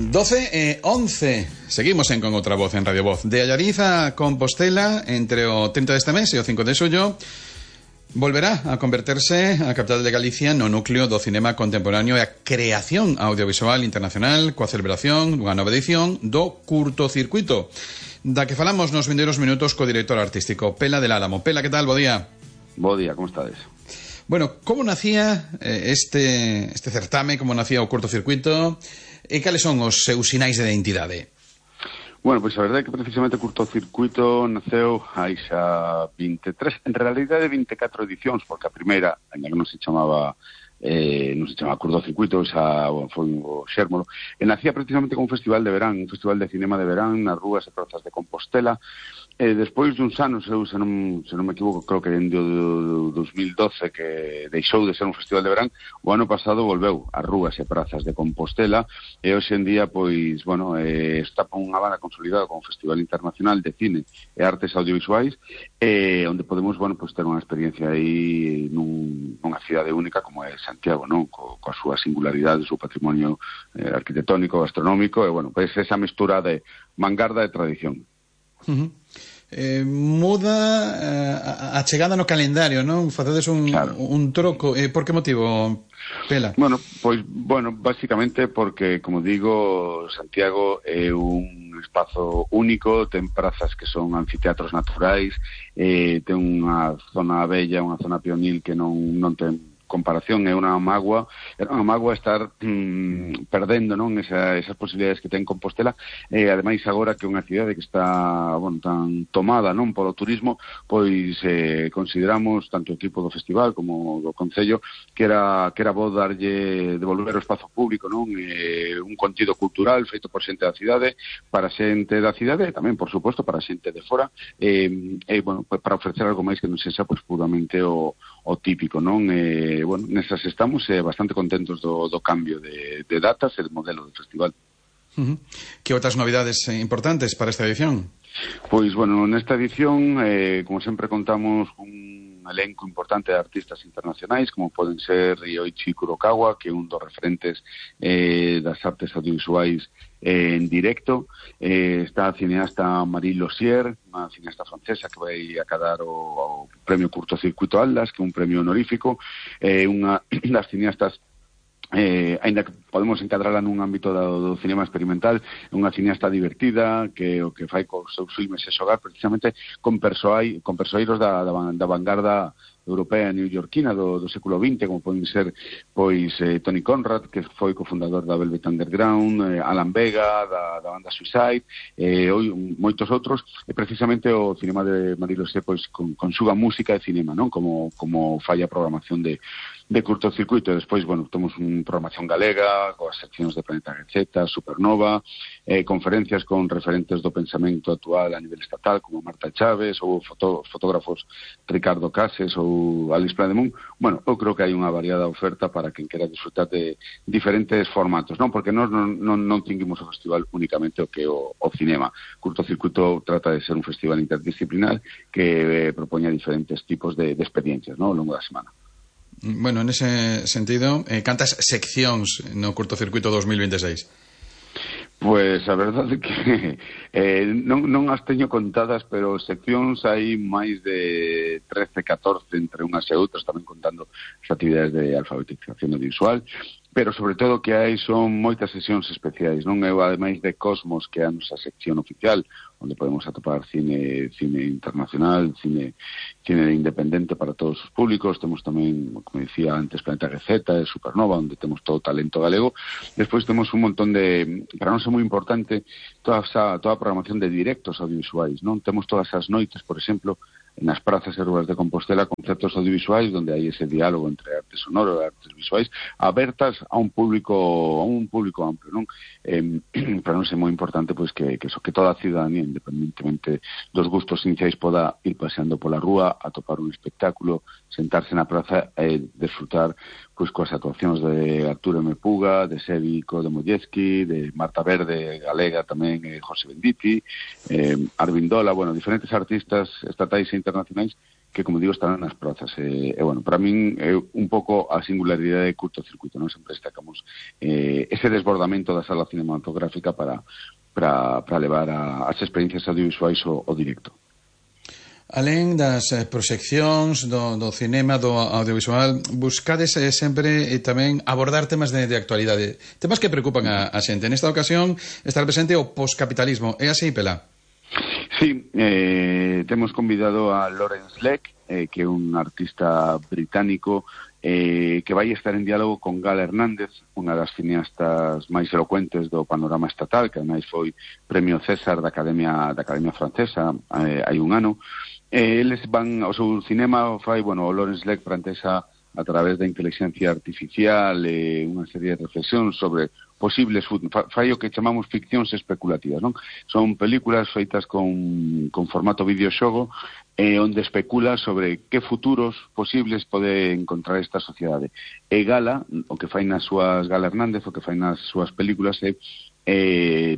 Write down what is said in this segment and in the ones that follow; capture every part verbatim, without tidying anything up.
doce e once. Seguimos en Con Outra Voz en Radio Voz. De Allariz a Compostela, entre o trinta deste mes e o cinco de xullo, volverá a converterse a capital de Galicia no núcleo do cinema contemporáneo e a creación audiovisual internacional, coa celebración dunha nova edición do Curtocircuito, da que falamos nos vindeiros minutos co director artístico Pela del Álamo. Pela, que tal? Bo día. Bo día, como estades? Bueno, como nacía eh, este, este certame, como nacía o Curtocircuito, e cales son os seus sinais de identidade? Bueno, pois a verdade é que precisamente o Curtocircuito naceu hai xa vinte e tres, en realidade vinte e catro edicións, porque a primeira, ainda que non se chamaba eh, non se chamaba Curtocircuito, xa bueno, foi o xérmolo, e nacía precisamente como un festival de verán, un festival de cinema de verán nas rúas e prazas de Compostela. E despois duns anos, eu, se non, se non me equivoco, creo que dende o dos mil doce que deixou de ser un festival de verán, o ano pasado volveu ás rúas e prazas de Compostela, e hoxe en día, pois, bueno, eh, está por unha banda consolidada como Festival Internacional de Cine e Artes Audiovisuais, eh, onde podemos, bueno, pois ter unha experiencia aí nun, nunha cidade única como é Santiago, non? Co, coa súa singularidade, o seu patrimonio eh, arquitectónico, gastronómico, e, bueno, pois esa mestura de vanguarda e tradición. Uh-huh. Eh, muda eh, a chegada no calendario, non? Facedes un, claro. un troco. Eh, por que motivo, Pela? Bueno, pois, bueno, basicamente porque, como digo, Santiago é un espazo único, ten prazas que son anfiteatros naturais, eh, ten unha zona bella, unha zona pionil que non, non ten comparación, é unha mágoa, é unha mágoa estar mm, perdendo, non, Esa, esas posibilidades que ten Compostela, e ademais agora que é unha cidade que está, bueno, tan tomada, non, polo turismo, pois eh, consideramos tanto o equipo do festival como do Concello que era que era bo darlle devolver o espazo público, non, eh, un contido cultural feito por xente da cidade, para xente da cidade e tamén, por suposto, para xente de fora, e eh, eh, bueno, pues para ofrecer algo máis que non sexa pois puramente o, o típico, non, eh Eh, bueno, nesas estamos eh, bastante contentos do, do cambio de, de datas e de modelo do festival. Uh-huh. Que outras novidades eh, importantes para esta edición? Pois, bueno, nesta edición, eh, como sempre contamos un elenco importante de artistas internacionais, como poden ser Ryoichi Kurokawa, que é un dos referentes eh, das artes audiovisuais eh, en directo. Eh, está a cineasta Marie Lossier, unha cineasta francesa que vai acadar o, o premio Curtocircuito Atlas, que é un premio honorífico, eh, unha das cineastas Eh, aínda que podemos encadrarla nun ámbito do, do cinema experimental, é unha cineasta divertida que o que fai cos seus filmes é xogar precisamente con persoai, con persoeiros da, da, da vanguarda europea newyorkina do, do século vinte, como poden ser pois eh, Tony Conrad, que foi cofundador da Velvet Underground, eh, Alan Vega da, da banda Suicide, eh, oi, moitos outros, e precisamente o cinema de Marie Lossier pois con, con súa música e cinema, non? Como, como fai a programación de de Curtocircuito. E despois, bueno, temos unha programación galega coas seccións de Planeta Receta, Supernova, eh, conferencias con referentes do pensamento actual a nivel estatal, como Marta Chávez, ou foto, fotógrafos Ricardo Cases ou Alice Plademont. Bueno, eu creo que hai unha variada oferta para quen quera disfrutar de diferentes formatos, non? Porque nós non, non, non tinguimos o festival únicamente o que o, o cinema. Curtocircuito trata de ser un festival interdisciplinar que eh, propoña diferentes tipos de, de experiencias, non? Ao longo da semana. Bueno, en ese sentido, eh, cantas seccións no Curtocircuito dos mil veintiséis? Pois a verdade é que eh, non, non as teño contadas, pero seccións hai máis de trece, catorce entre unhas e outras, tamén contando as actividades de alfabetización audiovisual, pero sobre todo que hai son moitas sesións especiais, non? Eu, ademais de Cosmos, que é a nosa sección oficial, onde podemos atopar cine cine internacional, cine cine independente para todos os públicos. Temos tamén, como dicía antes, Planeta Receta e Supernova, onde temos todo o talento galego. Despois temos un montón de, para nós é moi importante, toda esa, toda a programación de directos audiovisuais, non? Temos todas as noites, por exemplo, nas prazas e rúas de Compostela, conceptos audiovisuais onde hai ese diálogo entre arte sonoro e artes visuais abertas a un público a un público amplio, non? Eh, para nós é moi importante pois que, que, que toda a ciudadanía, independentemente dos gustos iniciais, poda ir paseando pola rúa, atopar un espectáculo, sentarse na praza e disfrutar pois coas actuacións de Arturo M. Puga, de Sévico de Molleski, de Marta Verde, galega tamén, eh, José Benditi, eh, Arvindola, bueno, diferentes artistas estatais e internacionais que, como digo, estarán nas prazas. E, e bueno, para min é un pouco a singularidade de curtocircuito, non? Sempre destacamos eh, ese desbordamento da sala cinematográfica para, para, para levar a, as experiencias audiovisuais ao, ao directo. Alén das eh, proxeccións do, do cinema, do audiovisual, buscades eh, sempre eh, tamén abordar temas de, de actualidade, temas que preocupan a, a xente. Nesta ocasión estar presente o poscapitalismo. É así, Pela? Sí, eh, temos convidado a Lawrence Leck, eh, que é un artista británico eh, que vai estar en diálogo con Gala Hernández, unha das cineastas máis elocuentes do panorama estatal, que ademais foi premio César da Academia da Academia Francesa eh, hai un ano. Eh, eles van ao seu cinema, fai, bueno, o Lawrence Leck plantexa a través da inteligencia artificial eh, unha serie de reflexións sobre posibles, fai o que chamamos ficcións especulativas, non? Son películas feitas con, con formato videoxogo eh, onde especula sobre que futuros posibles pode encontrar esta sociedade. E Gala, o que fai nas súas, Gala Hernández, o que fai nas súas películas é eh,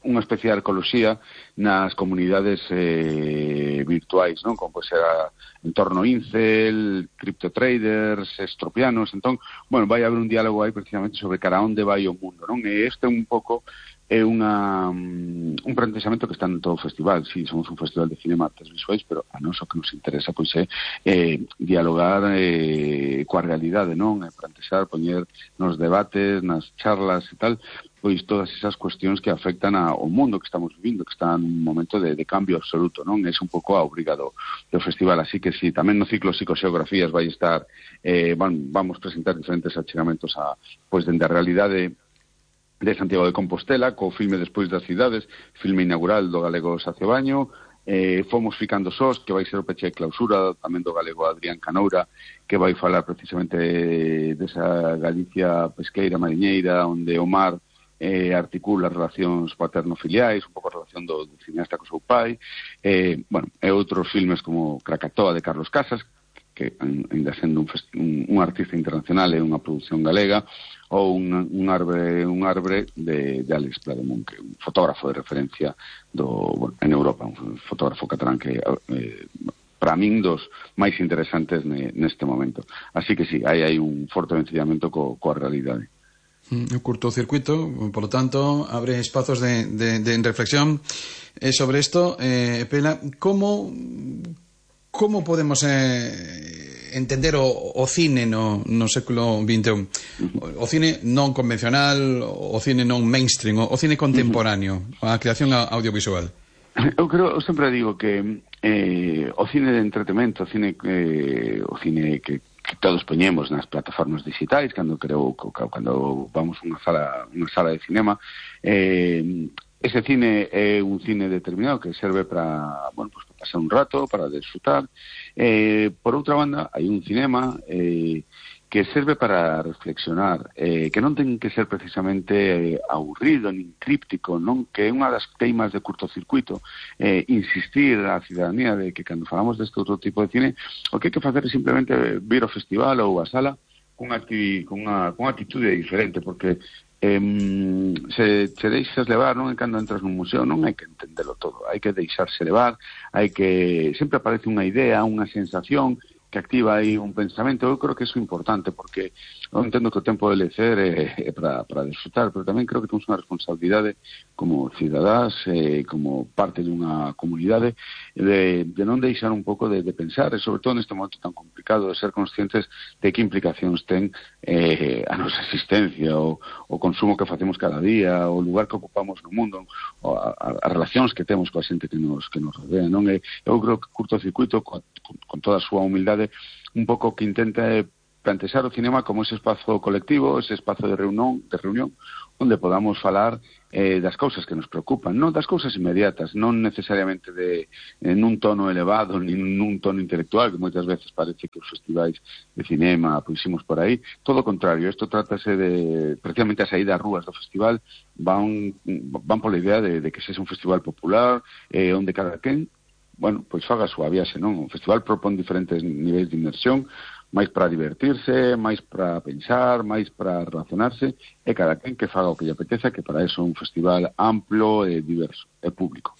unha especie de arqueoloxía nas comunidades eh, virtuais, non? Como pode ser a entorno incel, criptotraders, estropianos. Entón, bueno, vai haber un diálogo aí precisamente sobre cara onde vai o mundo, non? E este un pouco é unha, un plantexamento que está en todo o festival. Si, sí, somos un festival de cinema artes visuais, pero a nós o que nos interesa pois é eh, dialogar eh, coa realidade, non? E plantexar, poñer nos debates, nas charlas e tal, pois todas esas cuestións que afectan ao mundo que estamos vivindo, que está nun momento de, de cambio absoluto, non? É un pouco a obrigado do festival, así que si, sí, tamén no ciclo Psicoxeografías vai estar, eh, van, vamos presentar diferentes achegamentos a, pois, dende a realidade de Santiago de Compostela, co filme Despois das cidades, filme inaugural do galego Sacio Baño, eh, Fomos ficando sós, que vai ser o peche de clausura tamén do galego Adrián Canoura, que vai falar precisamente desa Galicia pesqueira, mariñeira, onde o mar eh, articula relacións paterno-filiais, un pouco a relación do, do cineasta co seu pai, eh, bueno, e outros filmes como Krakatoa de Carlos Casas, que ainda sendo un, un, un artista internacional e unha produción galega, ou un, un arbre un arbre de, de Alex Plademont, que é un fotógrafo de referencia do, bueno, en Europa, un fotógrafo catalán que eh, para min dos máis interesantes ne, neste momento. Así que sí, aí hai un forte vencillamento co, coa realidade. Un curtocircuito, por lo tanto, abre espazos de, de, de reflexión eh, sobre esto. Eh, Pela, ¿cómo, cómo podemos eh, entender o, o cine no, no século vinte e un? O, o cine non convencional, o cine non mainstream, o, o cine contemporáneo, a creación audiovisual. Eu creo, eu sempre digo que eh, o cine de entretenimento, o cine, eh, o cine que que todos poñemos nas plataformas digitais cando creo cando vamos a unha sala unha sala de cinema, eh, ese cine é un cine determinado que serve para, bueno, pues para pasar un rato, para disfrutar. Eh, por outra banda, hai un cinema eh, que serve para reflexionar, eh, que non ten que ser precisamente eh, aburrido, nin críptico, non? Que é unha das teimas de curtocircuito, eh, insistir a cidadanía de que cando falamos deste outro tipo de cine, o que hai que facer é simplemente vir ao festival ou a sala con unha actitude diferente, porque eh, se se deixas levar, non? E cando entras nun museo non hai que entendelo todo, hai que deixarse levar, hai que sempre aparece unha idea, unha sensación que activa aí un pensamento. Eu creo que iso é importante, porque eu entendo que o tempo de lecer é, é para, para disfrutar, pero tamén creo que temos unha responsabilidade como cidadás, eh, como parte dunha comunidade, de, de non deixar un pouco de, de pensar, e sobre todo neste momento tan complicado, de ser conscientes de que implicacións ten eh, a nosa existencia, o, o consumo que facemos cada día, o lugar que ocupamos no mundo, o a, a, as relacións que temos coa xente que nos, que nos rodea, non? E eu creo que Curtocircuito, con, con toda a súa humildade, un pouco que intenta plantexar o cinema como ese espazo colectivo, ese espazo de reunión, de reunión onde podamos falar eh, das cousas que nos preocupan, non das cousas inmediatas, non necesariamente de en un tono elevado, nin nun tono intelectual, que moitas veces parece que os festivais de cinema puximos por aí. Todo o contrario, isto trátase de, precisamente a saída ás rúas do festival, van, van pola idea de, de que sexa un festival popular, eh, onde cada quen, bueno, pois faga a súa viaxe, non? O festival propón diferentes niveis de inmersión, máis para divertirse, máis para pensar, máis para relacionarse, e cada quen que faga o que lle apeteza, que para eso é un festival amplo e diverso, e público.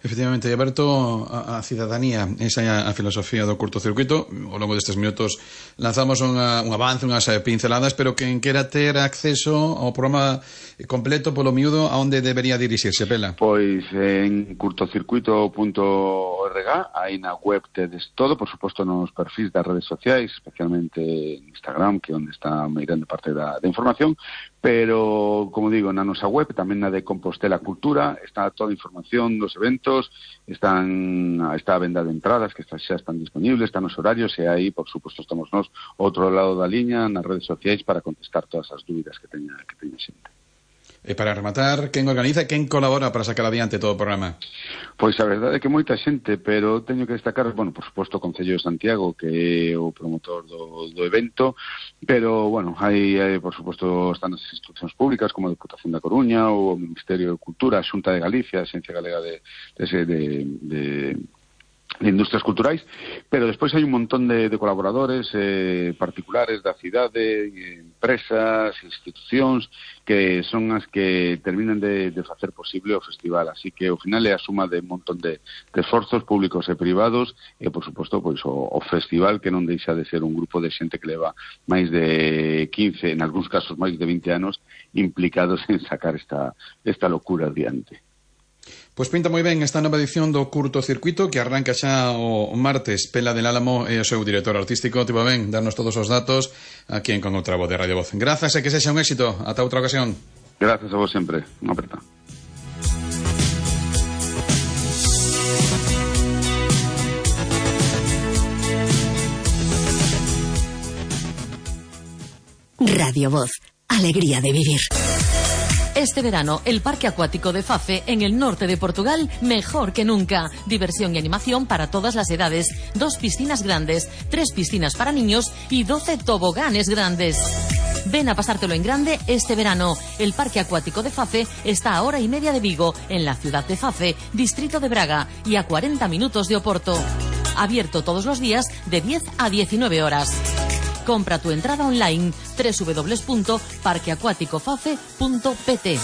Efectivamente, aberto a, a cidadanía, esa é a, a filosofía do curtocircuito. Ao longo destes minutos lanzamos unha, un avance, unhas pinceladas, pero quen quera ter acceso ao programa completo polo miúdo, a onde debería dirixirse, Pela? Pois en curtocircuito punto org, aí na web tedes todo, por suposto nos perfis das redes sociais, especialmente en Instagram, que é onde está a moi grande parte da, da información, pero, como digo, na nosa web, tamén na de Compostela Cultura, está toda a información dos eventos, están está a venda de entradas que xa están disponibles, están os horarios, e aí, por suposto, estamos nós outro lado da liña nas redes sociais para contestar todas as dúbidas que teña, que teña xente. E para rematar, quen organiza e quen colabora para sacar adiante todo o programa? Pois a verdade é que moita xente, pero teño que destacar, bueno, por suposto, o Concello de Santiago, que é o promotor do, do evento, pero, bueno, hai, hai, por suposto, están as institucións públicas, como a Deputación da Coruña, ou o Ministerio de Cultura, a Xunta de Galicia, a Xencia Galega de, de, de, de de industrias culturais, pero despois hai un montón de, de colaboradores eh, particulares da cidade, empresas, institucións, que son as que terminan de, de facer posible o festival. Así que, ao final, é a suma de un montón de, de esforzos públicos e privados, e, por suposto, pois, o, o festival, que non deixa de ser un grupo de xente que leva máis de quince, en algúns casos máis de vinte anos, implicados en sacar esta, esta locura adiante. Pois pinta moi ben esta nova edición do curtocircuito que arranca xa o martes. Pela del Álamo e o seu director artístico. Tipo ben, darnos todos os datos aquí en Con outra voz de Radio Voz. Grazas e que sexa un éxito. Ata outra ocasión. Grazas a vos sempre. Unha aperta. Radio Voz. Alegría de vivir. Este verano, el Parque Acuático de Fafe, en el norte de Portugal, mejor que nunca. Diversión y animación para todas las edades. Dos piscinas grandes, tres piscinas para niños y doce toboganes grandes. Ven a pasártelo en grande este verano. El Parque Acuático de Fafe está a hora y media de Vigo, en la ciudad de Fafe, distrito de Braga, y a cuarenta minutos de Oporto. Abierto todos los días de diez a diecinueve horas. Compra tu entrada online doble u doble u doble u punto parque acuático fafe punto p t.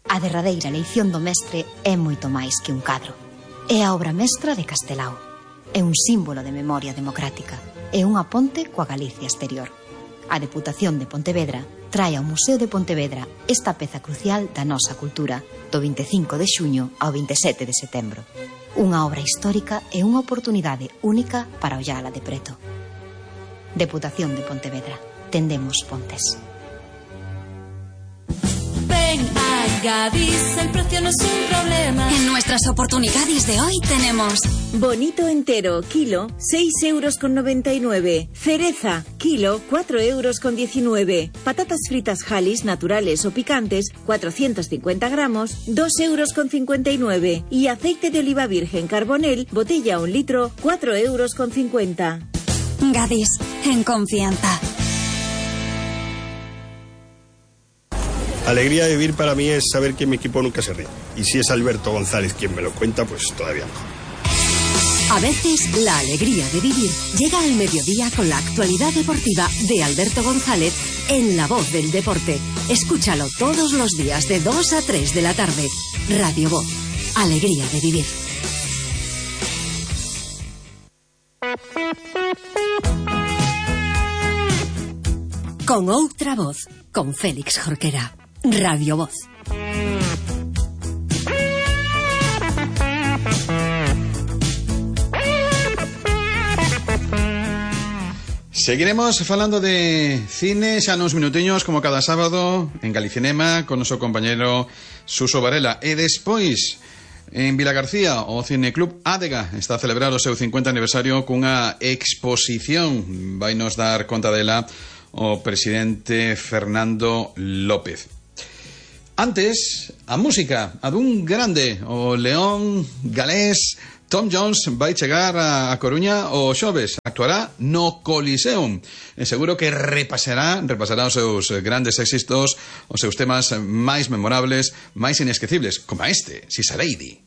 A derradeira leición do mestre é moito máis que un cadro. É a obra mestra de Castelao. É un símbolo de memoria democrática. É unha ponte coa Galicia exterior. A Deputación de Pontevedra trae ao Museo de Pontevedra esta peza crucial da nosa cultura do vinte e cinco de xuño ao vinte e sete de setembro. Unha obra histórica e unha oportunidade única para ollala de preto. Deputación de Pontevedra. Tendemos pontes. Ven a Gadis, el precio no es un problema. En nuestras oportunidades de hoy tenemos bonito entero, kilo, seis euros con noventa y nueve. Cereza, kilo, cuatro euros con diecinueve. Patatas fritas Halis, naturales o picantes, cuatrocientos cincuenta gramos, dos euros con cincuenta y nueve. Y aceite de oliva virgen Carbonel, botella un litro, cuatro euros con cincuenta. Gadis, en confianza. Alegría de vivir para mí es saber que mi equipo nunca se ríe. Y si es Alberto González quien me lo cuenta, pues todavía mejor. A veces, la alegría de vivir llega al mediodía con la actualidad deportiva de Alberto González en La Voz del Deporte. Escúchalo todos los días de dos a tres de la tarde. Radio Voz. Alegría de vivir. Con outra voz, con Félix Jorquera. Radio Voz. Seguiremos falando de cine xa nos minutiños, como cada sábado en Galicinema, con noso compañero Suso Varela. E despois, en Vilagarcía, o Cineclub Ádega está a celebrar o seu cincuenta aniversario cunha exposición. Vai nos dar conta dela o presidente Fernando López. Antes, a música, a dun grande, o león galés Tom Jones vai chegar a Coruña o xoves, actuará no Coliseum. E seguro que repasará, repasará os seus grandes éxitos, os seus temas máis memorables, máis inesquecibles, como este, She's a Lady.